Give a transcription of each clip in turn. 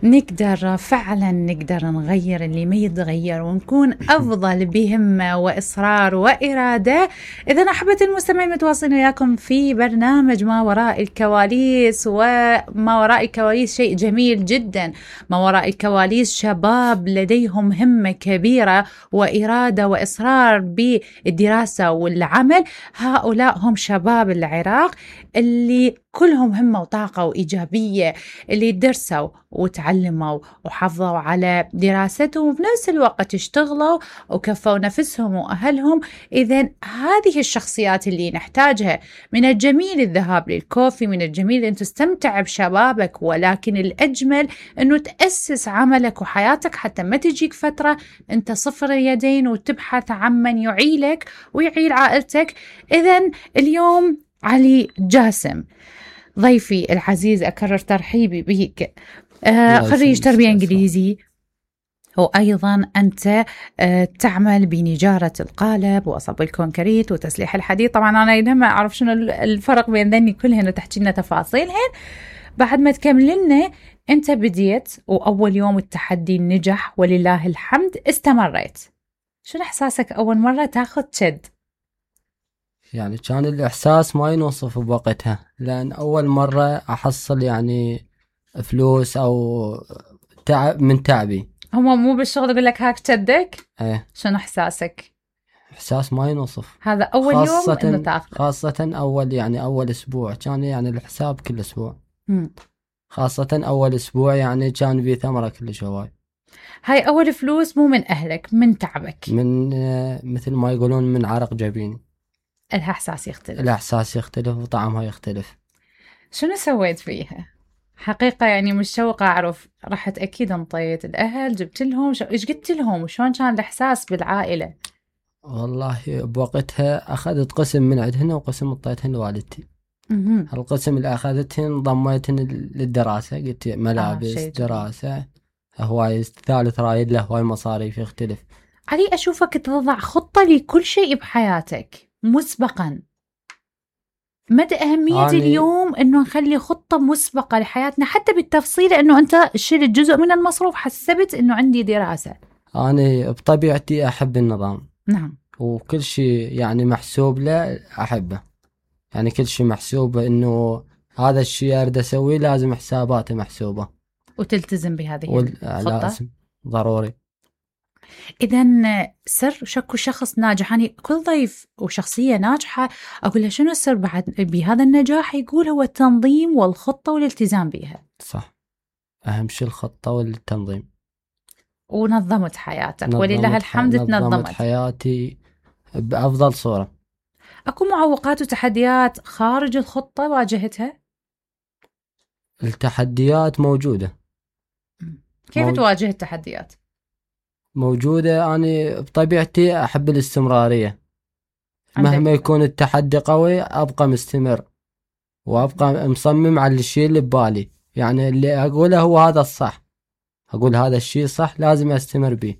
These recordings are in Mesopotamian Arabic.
نقدر فعلا نقدر نغير اللي ما يتغير ونكون أفضل بهمة وإصرار وإرادة. إذا أحبت المستمعين متواصلين وياكم في برنامج ما وراء الكواليس، وما وراء الكواليس شيء جميل جدا. ما وراء الكواليس شباب لديهم همة كبيرة وإرادة وإصرار بالدراسة والعمل. هؤلاء هم شباب العراق اللي كلهم همة وطاقة وإيجابية، اللي درسوا وتعلموا وحافظوا على دراستهم وبنفس الوقت اشتغلوا وكفوا نفسهم وأهلهم. إذن هذه الشخصيات اللي نحتاجها. من الجميل الذهاب للكوفي، من الجميل أن تستمتع بشبابك، ولكن الأجمل أنه تأسس عملك وحياتك حتى ما تجيك فترة أنت صفر اليدين وتبحث عن من يعيلك ويعيل عائلتك. إذن اليوم علي جاسم ضيفي العزيز، أكرر ترحيبي بك، خريج تربية إنجليزي، وأيضا أنت تعمل بنجارة القالب وصب الكونكريت وتسليح الحديد. طبعا أنا ما أعرف شنو الفرق بين ذني كلهن وتحكي لنا تفاصيلهن. بعد ما تكمل لنا، أنت بديت وأول يوم التحدي نجح ولله الحمد، استمريت. شنو إحساسك أول مرة تاخذ شد؟ يعني كان الإحساس ما ينوصف بوقتها، لأن أول مرة أحصل يعني فلوس أو تعب من تعبي. هو مو بالشغل يقول لك هاك شدك؟ ايه. شنو إحساسك؟ إحساس ما ينوصف. هذا أول يوم إنه تاخذ، خاصة أول أسبوع كان يعني الحساب كل أسبوع. خاصة أول أسبوع يعني كان في ثمرة كل هواي. هاي أول فلوس مو من أهلك، من تعبك، من مثل ما يقولون من عرق جبيني. الإحساس يختلف وطعمها يختلف. شنو سويت فيها؟ حقيقة يعني مشوقة أعرف. رحت أكيد انطيت الأهل، جبت لهم إيش قلت لهم؟ وشون كان الإحساس بالعائلة؟ والله بوقتها أخذت قسم من عندهن وقسم انطيتهن لوالدتي. القسم اللي أخذتهن ضميتهن للدراسة، قلت ملابس دراسة هواي. الثالث رايد له هواي مصاريف يختلف. علي أشوفك تضع خطة لكل شيء بحياتك مسبقا. مدى أهمية اليوم أنه نخلي خطة مسبقة لحياتنا حتى بالتفصيل، أنه أنت شلت جزء من المصروف، حسبت أنه عندي دراسة. أنا بطبيعتي أحب النظام. نعم. وكل شيء يعني محسوب له أحبه، يعني كل شيء محسوب، أنه هذا الشيء أريد أسويه لازم حساباته محسوبة وتلتزم بهذه الخطة. لازم ضروري. إذن سر شكو شخص ناجح، يعني كل ضيف وشخصية ناجحة أقول له شنو السر بعد بهذا النجاح؟ يقول هو التنظيم والخطة والالتزام بها. صح، أهم شيء الخطة والتنظيم. ونظمت حياتك ولله الحمد. نظمت حياتي بأفضل صورة. أكو معوقات وتحديات خارج الخطة واجهتها؟ التحديات موجودة. كيف تواجه التحديات؟ موجودة. أنا بطبيعتي أحب الاستمرارية، مهما يكون التحدي قوي أبقى مستمر وأبقى مصمم على الشيء اللي ببالي. يعني اللي أقوله هو هذا الصح، أقول هذا الشيء صح لازم أستمر به.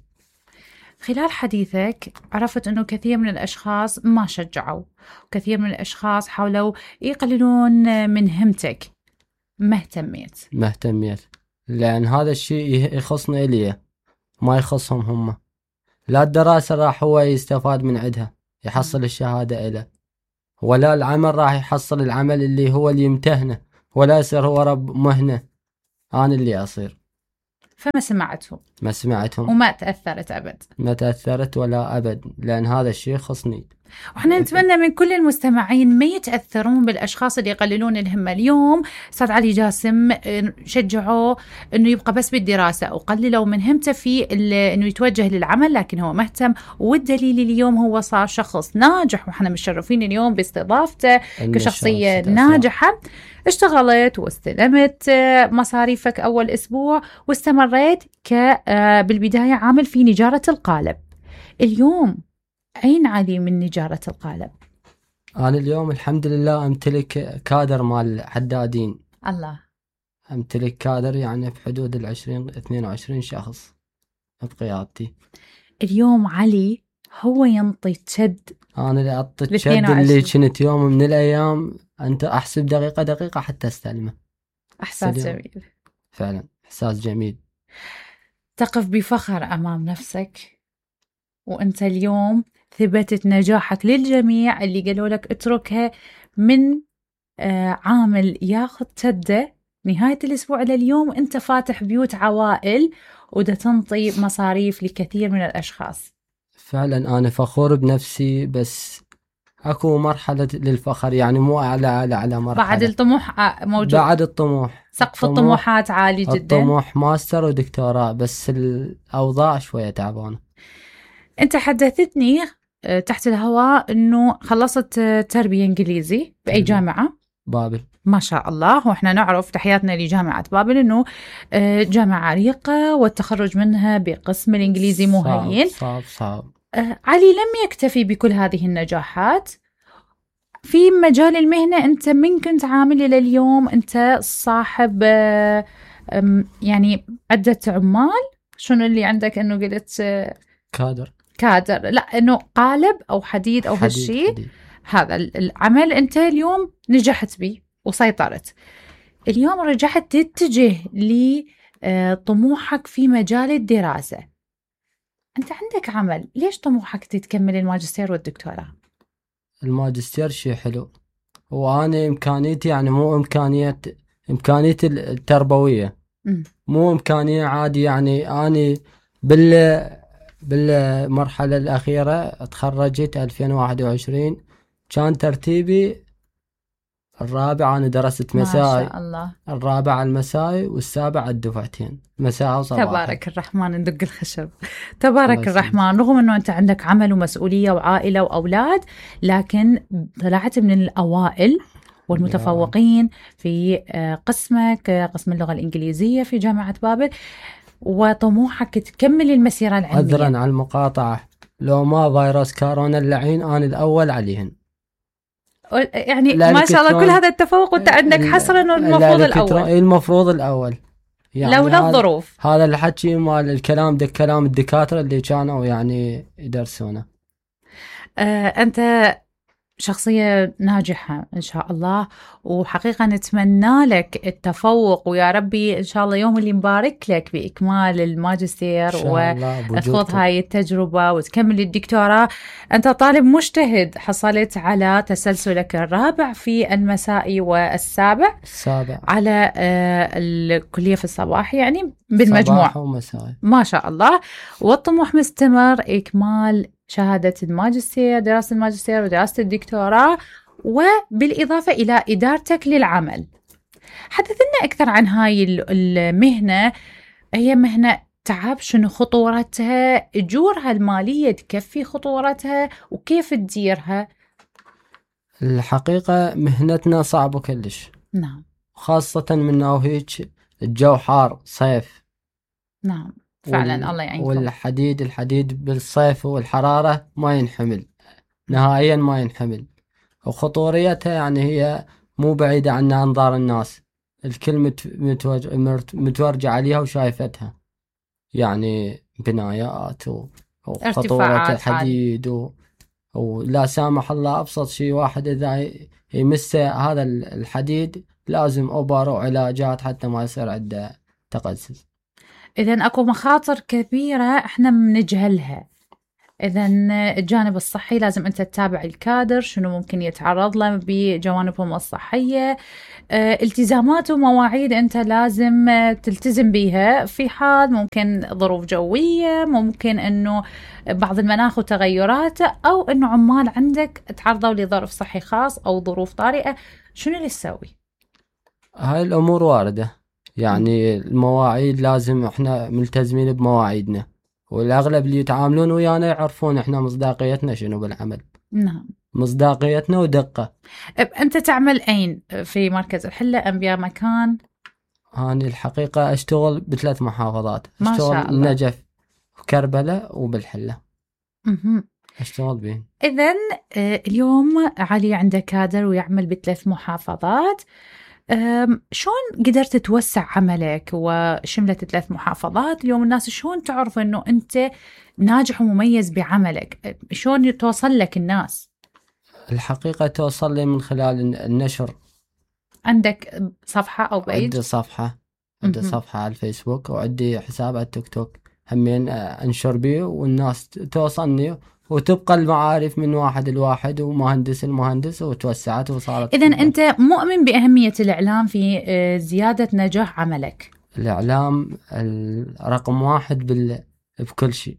خلال حديثك عرفت أنه كثير من الأشخاص ما شجعوا، وكثير من الأشخاص حاولوا يقللون من همتك. ما اهتميت لأن هذا الشيء يخصني إليه، ما يخصهم هم. لا الدراسة راح هو يستفاد من عندها يحصل الشهادة إله، ولا العمل راح يحصل العمل اللي هو اللي يمتهنه، ولا يصير هو رب مهنة أنا اللي أصير. فما سمعتهم. ما سمعتهم وما تأثرت أبد. ما تأثرت ولا أبد، لأن هذا الشيء خصني. وإحنا نتمنى من كل المستمعين ما يتأثرون بالأشخاص اللي يقللون الهمة. اليوم أستاذ علي جاسم شجعوه إنه يبقى بس بالدراسة، وقللوا من همته في إنه يتوجه للعمل، لكن هو مهتم. والدليل اليوم هو صار شخص ناجح، وإحنا مشرفين اليوم باستضافته كشخصية ناجحة. اشتغلت واستلمت مصاريفك أول أسبوع، واستمريت بالبداية عامل في نجارة القالب. اليوم أين علي من نجارة القالب؟ أنا اليوم الحمد لله أمتلك كادر مال حدادين. الله. أمتلك كادر يعني بحدود 22 شخص بقيادتي. اليوم علي هو ينطي تشد. أنا اللي أعطي التشد اللي كنت يوم من الأيام أنت أحسب دقيقة حتى أستلمه. أحساس جميل فعلا. إحساس جميل. تقف بفخر أمام نفسك وأنت اليوم ثبتت نجاحك للجميع اللي قالوا لك اتركها من عامل ياخذ تده نهاية الأسبوع إلى اليوم، أنت فاتح بيوت عوائل ودا تنطي مصاريف لكثير من الأشخاص. فعلا أنا فخور بنفسي، بس أكو مرحلة للفخر، يعني مو أعلى مرحلة. بعد الطموح موجود. بعد الطموح، سقف الطموحات عالي جدا. الطموح ماستر ودكتوراه، بس الأوضاع شوية تعبانة. أنت حدثتني تحت الهواء أنه خلصت تربية إنجليزي بأي جامعة؟ بابل. ما شاء الله. وإحنا نعرف تحياتنا لجامعة بابل أنه جامعة عريقة والتخرج منها بقسم الإنجليزي مو هين. صعب. علي لم يكتفي بكل هذه النجاحات في مجال المهنة. أنت من كنت عامل إلى اليوم أنت صاحب يعني عدة عمال. شنو اللي عندك أنه قلت كادر لا أنه قالب أو حديد أو هالشيء. هذا العمل أنت اليوم نجحت به وسيطرت. اليوم رجعت تتجه لطموحك في مجال الدراسة. أنت عندك عمل، ليش طموحك تكمل الماجستير والدكتوراه؟ الماجستير شيء حلو، وأنا إمكانيتي يعني مو إمكانيتي التربوية، مو إمكانية عادي. يعني أنا بالمرحلة الأخيرة تخرجت 2021، كان ترتيبي الرابع. أنا درست مسائي، ما شاء الله. الرابع المسائي والسابع الدفعتين مساء وصباح. تبارك الرحمن، ندق الخشب. تبارك الرحمن. رغم أنه أنت عندك عمل ومسؤولية وعائلة وأولاد، لكن طلعت من الأوائل والمتفوقين في قسمك، قسم اللغة الإنجليزية في جامعة بابل، وطموحك تكمل المسيرة العلمية. عذرا على المقاطعة، لو ما فيروس كورونا اللعين أنا الأول عليهن. يعني ما شاء الله كل هذا التفوق وانت عندك حصرا انه المفروض الاول. المفروض الاول، يعني لولا الظروف. هذا الحكي مال الكلام كلام الدكاتره اللي كانوا يعني يدرسونه. انت شخصية ناجحة إن شاء الله، وحقيقة نتمنى لك التفوق، ويا ربي إن شاء الله يوم اللي مبارك لك بإكمال الماجستير وتخوض هاي التجربة وتكمل الدكتوراه. أنت طالب مجتهد، حصلت على تسلسلك الرابع في المسائي والسابع على الكلية في الصباح، يعني بالمجموع صباح ومسائي ما شاء الله. والطموح مستمر إكمال شهادة الماجستير، دراسة الماجستير ودراسة الدكتوراه، وبالإضافة إلى إدارتك للعمل. حدثنا أكثر عن هاي المهنة. هي مهنة تعب، شنو خطورتها، أجورها المالية تكفي خطورتها، وكيف تديرها؟ الحقيقة مهنتنا صعبة كلش. نعم. خاصة من هيك الجو حار صيف. نعم فعلا. الله يعينكم. الحديد بالصيف والحرارة ما ينحمل نهائيا، ما ينحمل. وخطوريتها يعني هي مو بعيدة عن أنظار الناس، الكل متورجة عليها وشايفتها، يعني بنايات وخطورة الحديد ولا سامح الله أبسط شيء واحد إذا يمس هذا الحديد لازم أوبر وعلاجات حتى ما يصير عنده تقزز. إذن أكو مخاطر كبيرة إحنا بنجهلها. إذن الجانب الصحي لازم أنت تتابع الكادر شنو ممكن يتعرض له بجوانبهم الصحية. التزامات ومواعيد أنت لازم تلتزم بيها في حال ممكن ظروف جوية، ممكن أنه بعض المناخ وتغيرات، أو أنه عمال عندك تعرضوا لظرف صحي خاص أو ظروف طارئة. شنو اللي تسوي؟ هاي الأمور واردة، يعني المواعيد لازم احنا ملتزمين بمواعيدنا، والأغلب اللي يتعاملون ويانا يعرفون احنا مصداقيتنا شنو بالعمل. نعم. مصداقيتنا ودقة. أنت تعمل أين؟ في مركز الحلة أم بمكان؟ أنا الحقيقة أشتغل ب3 محافظات. ما أشتغل شاء الله. النجف وكربلاء وبالحلة. أشتغل بين. إذن اليوم علي عنده كادر ويعمل ب3 محافظات. شلون قدرت توسع عملك وشملت 3 محافظات؟ اليوم الناس شلون تعرف أنه أنت ناجح ومميز بعملك؟ شلون توصل لك الناس؟ الحقيقة توصل لي من خلال النشر. عندك صفحة أو بيج؟ عندي صفحة عندي صفحة على الفيسبوك وعندي حساب على التيك توك همين انشر بيه والناس توصلني وتبقى المعارف من واحد لواحد ومهندس المهندس وتوسعت وصارت. إذن أنت مؤمن بأهمية الإعلام في زيادة نجاح عملك؟ الإعلام رقم واحد بكل شيء.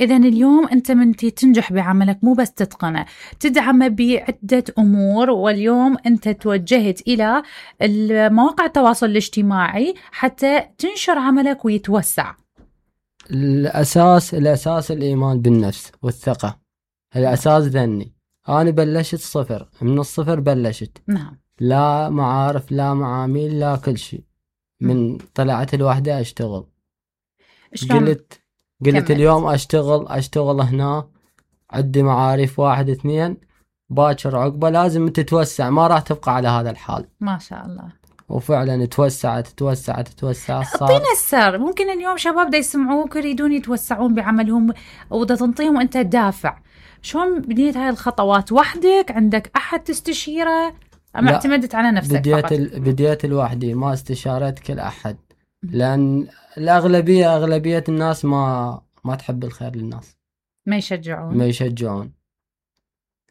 إذن اليوم أنت من تنجح بعملك مو بس تتقنه، تدعمه بعدة أمور، واليوم أنت توجهت إلى مواقع التواصل الاجتماعي حتى تنشر عملك ويتوسع. الأساس الإيمان بالنفس والثقة، الأساس ذني. أنا بلشت صفر، من الصفر بلشت. نعم. لا معارف لا معامل لا كل شيء، من طلعت الوحدة أشتغل. قلت اليوم أشتغل هنا، عندي معارف 1 2، باكر عقبة لازم تتوسع، ما راح تبقى على هذا الحال. ما شاء الله. وفعلا توسعت. اعطينا السر، ممكن اليوم شباب دا يسمعوك يريدون يتوسعون بعملهم ودا تنطيهم انت دافع، شلون بديت هاي الخطوات؟ وحدك؟ عندك احد تستشيره؟ ام اعتمدت على نفسك فقط؟ بديت لوحدي، ما استشارت كل احد، لان اغلبيه الناس ما تحب الخير للناس، ما يشجعون.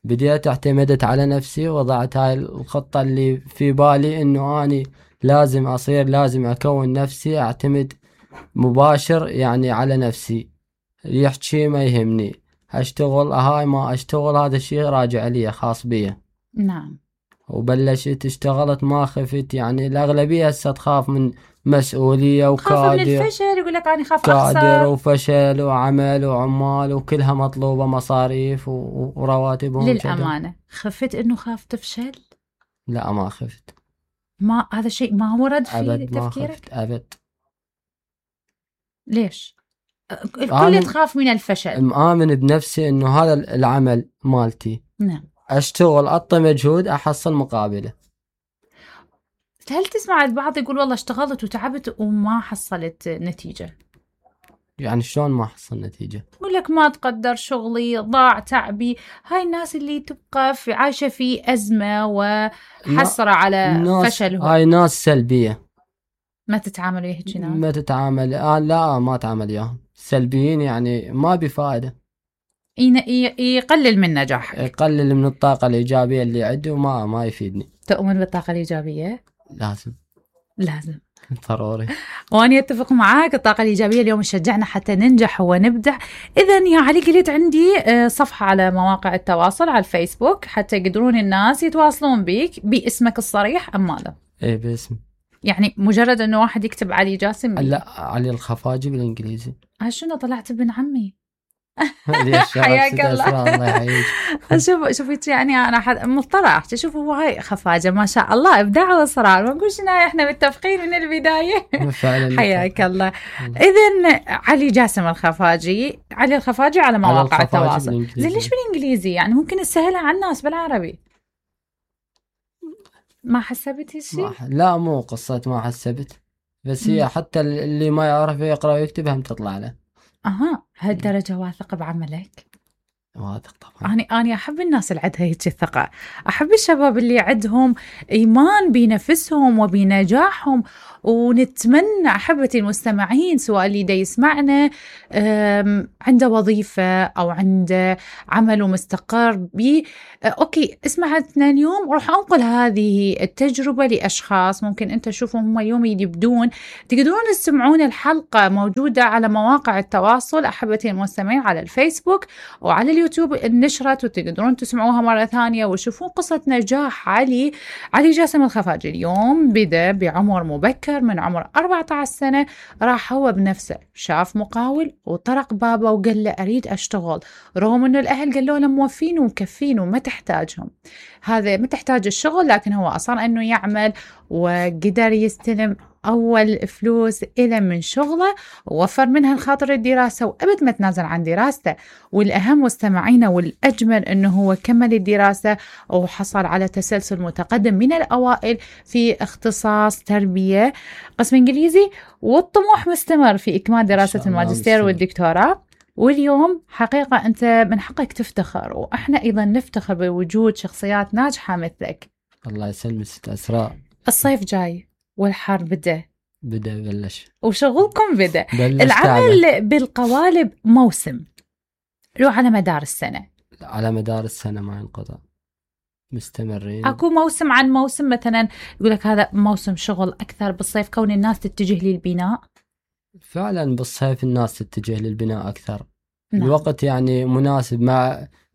بديت اعتمدت على نفسي، وضعت هاي الخطة اللي في بالي انه اني لازم اكون نفسي، اعتمد مباشر يعني على نفسي، يحكي ما يهمني، اشتغل هاي ما اشتغل هذا الشيء راجع لي خاص بي. نعم. وبلشت اشتغلت ما خفت، يعني الاغلبية هسه تخاف من مسؤولية وكادر، من الفشل، يقول لك أنا خاف أخسر، كادر وفشل وعمل وعمال وكلها مطلوبة مصاريف ورواتبهم. للأمانة خفت إنه خاف تفشل؟ لا ما خفت، ما هذا الشيء ما ورد في تفكيرك؟ ما خفت أبد. ليش؟ الكل تخاف من الفشل. مآمن بنفسي إنه هذا العمل مالتي. نعم. أشتغل أعطي مجهود أحصل مقابله. هل تسمع البعض يقول والله اشتغلت وتعبت وما حصلت نتيجة؟ يعني شلون ما حصل نتيجة؟ يقول لك ما تقدر شغلي، ضاع تعبي. هاي الناس اللي تبقى عايشة في أزمة وحسرة على فشلهم. هاي ناس سلبية، ما تتعامل وياك ناس؟ ما تتعامل. لا ما أتعامل وياهم، سلبيين يعني ما بفائدة. يقلل من نجاحك، يقلل من الطاقة الإيجابية اللي عندي وما يفيدني. تؤمن بالطاقة الإيجابية؟ لازم ضروري. وأنا أتفق معاك، الطاقة الإيجابية اليوم تشجعنا حتى ننجح ونبدع. إذن يا علي، قلت عندي صفحة على مواقع التواصل على الفيسبوك حتى يقدرون الناس يتواصلون بيك باسمك الصريح أم ماذا؟ إيه باسم، يعني مجرد أنه واحد يكتب علي جاسم؟ لا، علي الخفاجي بالإنجليزي. شنو طلعت ابن عمي؟ حياك الله. شوفي يعني انا مضطره احكي. شوفوا هو هاي خفاجه ما شاء الله، ابداع واصرار، ما نقولش احنا متفقين من البدايه. حياك الله. اذن علي جاسم الخفاجي، علي الخفاجي على مواقع التواصل. زين ليش بالانجليزي؟ يعني ممكن نسهلها على الناس بالعربي. ما حسبتي شيء؟ لا مو قصه ما حسبت، بس هي حتى اللي ما يعرف يقرا ويكتب هم تطلع له. هالدرجة واثق بعملك؟ واثق طبعا. أنا أحب الناس اللي عندها هيك الثقة، أحب الشباب اللي عندهم إيمان بنفسهم وبنجاحهم. ونتمنى أحبتي المستمعين، سواء اللي دا يسمعنا عنده وظيفة أو عنده عمل مستقر أوكي، اسمعتنا اليوم وروح أنقل هذه التجربة لأشخاص ممكن أنت تشوفهم هم اليوم يبدون. تقدرون تسمعون الحلقة موجودة على مواقع التواصل أحبتي المستمعين، على الفيسبوك وعلى اليوتيوب نشرت، وتقدرون تسمعوها مرة ثانية وشوفون قصة نجاح علي جاسم الخفاجي. اليوم بدأ بعمر مبكر، من عمر 14 سنة راح هو بنفسه شاف مقاول وطرق بابه وقال له أريد أشتغل، رغم أنه الأهل قالوا له موفين ومكفين وما تحتاجهم، هذا ما تحتاج الشغل، لكن هو أصر أنه يعمل وقدر يستلم أول فلوس إلى من شغله، ووفر منها الخاطر الدراسة وأبد ما تنازل عن دراسته. والأهم مستمعينا والأجمل أنه هو كمل الدراسة وحصل على تسلسل متقدم من الأوائل في اختصاص تربية قسم إنجليزي، والطموح مستمر في إكمال دراسة الماجستير والدكتوراه. واليوم حقيقة أنت من حقك تفتخر، وإحنا أيضا نفتخر بوجود شخصيات ناجحة مثلك. الله يسلمك ست أسراء. الصيف جاي والحر بدأ، بلش وشغلكم بدأ. بلش العمل تعبه. بالقوالب موسم لو على مدار السنة؟ على مدار السنة ما ينقطع، مستمرين. اكو موسم عن موسم، مثلا يقول لك هذا موسم شغل اكثر بالصيف كون الناس تتجه للبناء. فعلا بالصيف الناس تتجه للبناء أكثر. نعم. الوقت يعني مناسب،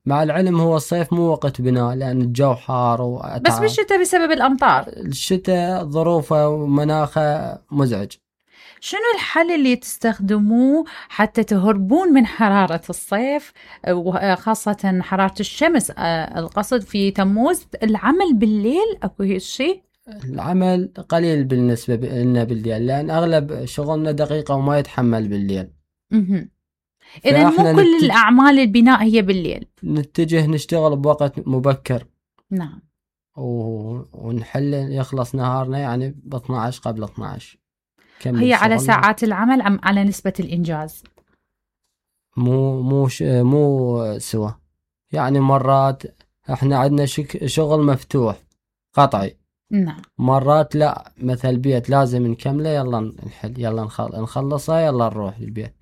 مع العلم هو الصيف مو وقت بناء لأن الجو حار بس بالشتاء بسبب الأمطار. الشتاء ظروفه ومناخه مزعج. شنو الحل اللي تستخدموه حتى تهربون من حرارة الصيف وخاصة حرارة الشمس؟ القصد في تموز العمل بالليل أكو شيء؟ العمل قليل بالنسبة لنا بالليل لأن أغلب شغلنا دقيقة وما يتحمل بالليل. إذا مو كل الأعمال البناء هي بالليل. نتجه نشتغل بوقت مبكر. نعم. ونحل يخلص نهارنا يعني ب 12 قبل 12. هي على ساعات العمل أم على نسبة الإنجاز؟ مو سوا. يعني مرات احنا عندنا شغل مفتوح قطعي. نعم. مرات لا، مثل بيت لازم نكمله، يلا نحل، يلا نخلصه، يلا نروح للبيت.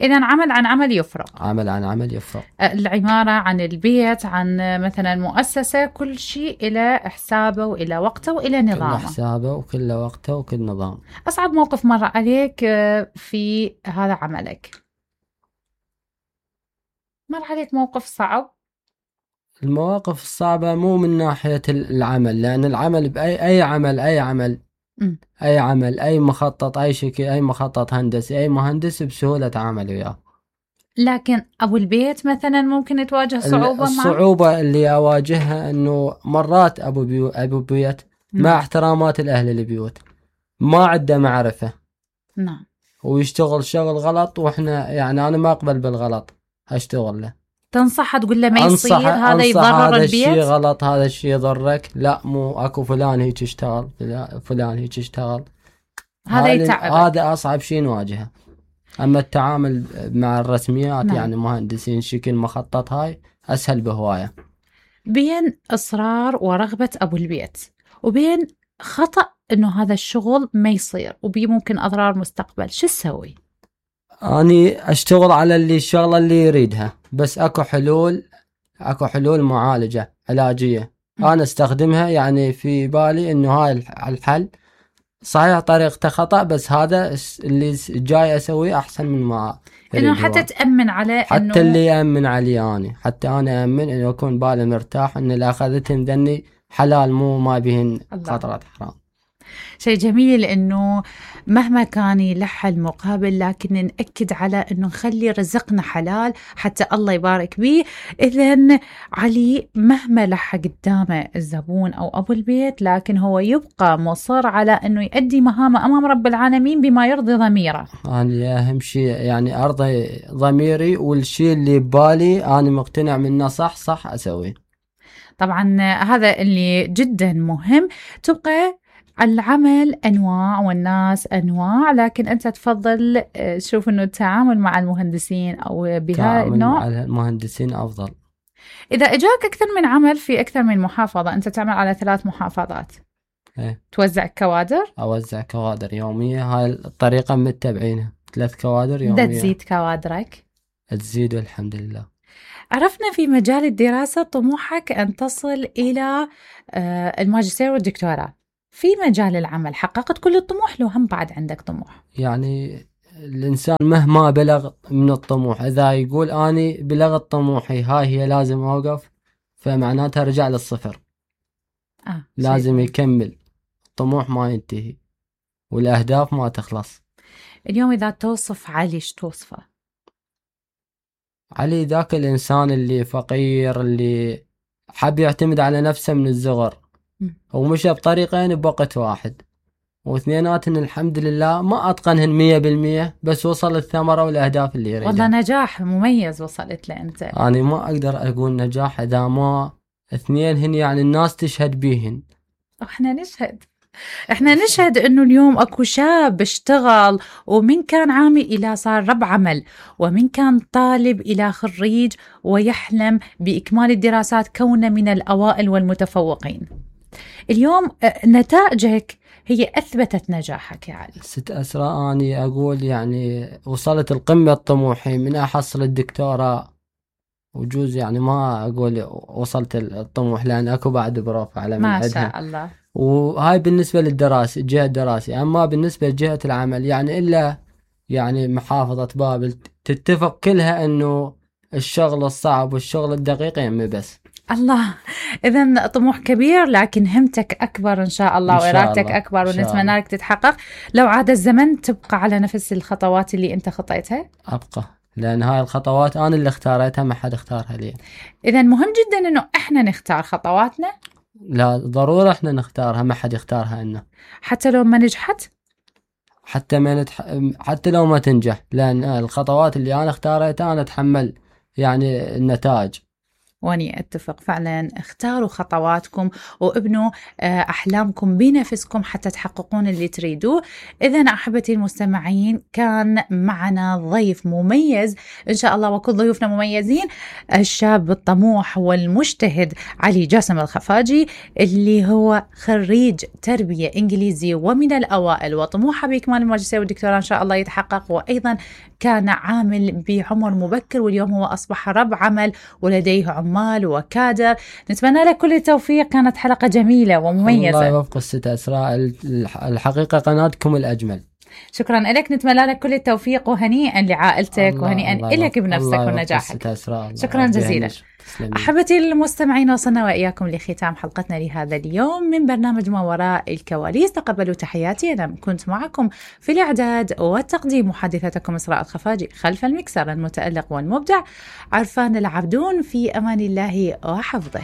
إذا عمل عن عمل يفرق. عمل عن عمل يفرق. العمارة عن البيت عن مثلا مؤسسة، كل شيء إلى حسابه وإلى وقته وإلى نظامه. كل حسابه وكل وقته وكل نظام. أصعب موقف مر عليك في هذا عملك؟ مر عليك موقف صعب؟ المواقف الصعبة مو من ناحية العمل، لأن العمل بأي عمل أي عمل أي مخطط أي شكل أي مخطط هندسي أي مهندس بسهولة تعامل وياه. لكن أبو البيت مثلا ممكن تواجه صعوبة. الصعوبة اللي أواجهها أنه مرات أبو بيت مع احترامات الأهل البيوت ما عنده معرفة. نعم. ويشتغل شغل غلط، وإحنا يعني أنا ما أقبل بالغلط أشتغل له. تنصح تقول له ما يصير هذا يضرر البيت، هذا الشيء غلط، هذا الشيء يضرك، لا مو اكو فلان هيك يشتغل، فلان هيك يشتغل. هذا يتعب. هذا اصعب شيء نواجهه. اما التعامل مع الرسميات نعم. يعني مهندسين شكل مخطط هاي اسهل بهوايه. بين اصرار ورغبة ابو البيت وبين خطأ انه هذا الشغل ما يصير وبي ممكن اضرار مستقبل، شو تسوي؟ اني اشتغل على الشغله اللي يريدها، بس اكو حلول معالجه علاجيه انا استخدمها. يعني في بالي انه هاي الحل صحيح طريقته خطأ، بس هذا اللي جاي اسويه احسن من ما انه حتى تأمن على حتى اللي يأمن علي أنا، حتى انا أأمن انه يكون بالي مرتاح ان اللي اخذتهم ذني حلال مو ما بهن خطرات حرام. شيء جميل انه مهما كان يلح المقابل لكن نأكد على انه نخلي رزقنا حلال حتى الله يبارك به. اذن علي مهما لح قدامه الزبون او ابو البيت لكن هو يبقى مصر على انه يؤدي مهامه امام رب العالمين بما يرضي ضميره. انا اهم شيء يعني ارضي ضميري، والشيء اللي ببالي انا مقتنع منه صح اسويه. طبعا هذا اللي جدا مهم. تبقى العمل أنواع والناس أنواع، لكن أنت تفضل تشوف أنه التعامل مع المهندسين أو بهذا النوع مع المهندسين أفضل. إذا إجاك أكثر من عمل في أكثر من محافظة، أنت تعمل على 3 محافظات، توزع كوادر؟ أوزع كوادر يومية، هاي الطريقة متبعينها، 3 كوادر يومية. تزيد كوادرك؟ تزيد والحمد لله. عرفنا في مجال الدراسة طموحك أن تصل إلى الماجستير والدكتوراه. في مجال العمل حققت كل الطموح لو هم بعد عندك طموح؟ يعني الإنسان مهما بلغ من الطموح، إذا يقول أني بلغت طموحي هاي هي لازم أوقف، فمعناتها رجع للصفر. لازم يكمل. الطموح ما ينتهي والأهداف ما تخلص. اليوم إذا توصف علي شو توصفه؟ علي ذاك الإنسان اللي فقير، اللي حب يعتمد على نفسه من الصغر ومشى بطريقين بوقت واحد، واثنيناتن الحمد لله ما أتقنهن 100%، بس وصل الثمرة والأهداف اللي يريدها. والله نجاح مميز وصلت له أنت. أنا ما أقدر أقول نجاح إذا ما اثنينهن يعني الناس تشهد بيهن. احنا نشهد انه اليوم اكو شاب اشتغل، ومن كان عامل الى صار رب عمل، ومن كان طالب الى خريج ويحلم باكمال الدراسات كونه من الاوائل والمتفوقين. اليوم نتائجك هي أثبتت نجاحك يا علي؟ ست أسراء أني أقول يعني وصلت القمة طموحي من أحصل الدكتوراه، وجوز يعني ما أقول وصلت الطموح لأن أكو بعد بروف على من ما عدها. شاء الله. وهاي بالنسبة للدراسة جهة الدراسة. أما بالنسبة لجهة العمل يعني إلا يعني محافظة بابل تتفق كلها أنه الشغل الصعب والشغل الدقيق يمي بس. الله، إذن طموح كبير لكن همتك أكبر إن شاء الله وإرادتك أكبر، ونتمنى لك تتحقق. لو عاد الزمن تبقى على نفس الخطوات اللي أنت خطيتها؟ أبقى، لأن هاي الخطوات أنا اللي اختارتها، ما حد اختارها لي. إذن مهم جدا إنه إحنا نختار خطواتنا. لا ضرورة إحنا نختارها، ما حد يختارها لنا. حتى لو ما نجحت؟ حتى لو ما تنجح، لأن الخطوات اللي أنا اختارتها أنا أتحمل يعني النتائج. واني اتفق فعلا. اختاروا خطواتكم وابنوا احلامكم بنفسكم حتى تحققون اللي تريدوه. اذا احبتي المستمعين، كان معنا ضيف مميز ان شاء الله، وكل ضيوفنا مميزين، الشاب الطموح والمجتهد علي جاسم الخفاجي، اللي هو خريج تربية انجليزي ومن الاوائل، وطموحه باكمال الماجستير والدكتوراه ان شاء الله يتحقق. وايضا كان عامل بعمر مبكر، واليوم هو اصبح رب عمل ولديه عمال وكادر. نتمنى لك كل التوفيق. كانت حلقة جميلة ومميزة. الله يوفق ست أسراء، الحقيقة قناتكم الأجمل. شكرا لك. نتمنى لك كل التوفيق، وهنيئا لعائلتك وهنيئا لك بنفسك ونجاحك. شكرا جزيلا. أحبتي المستمعين، وصلنا وإياكم لختام حلقتنا لهذا اليوم من برنامج ما وراء الكواليس. تقبلوا تحياتي، أنا كنت معكم في الإعداد والتقديم محدثتكم إسراء الخفاجي، خلف المكسر المتألق والمبدع عرفان العبدون. في أمان الله وحفظه.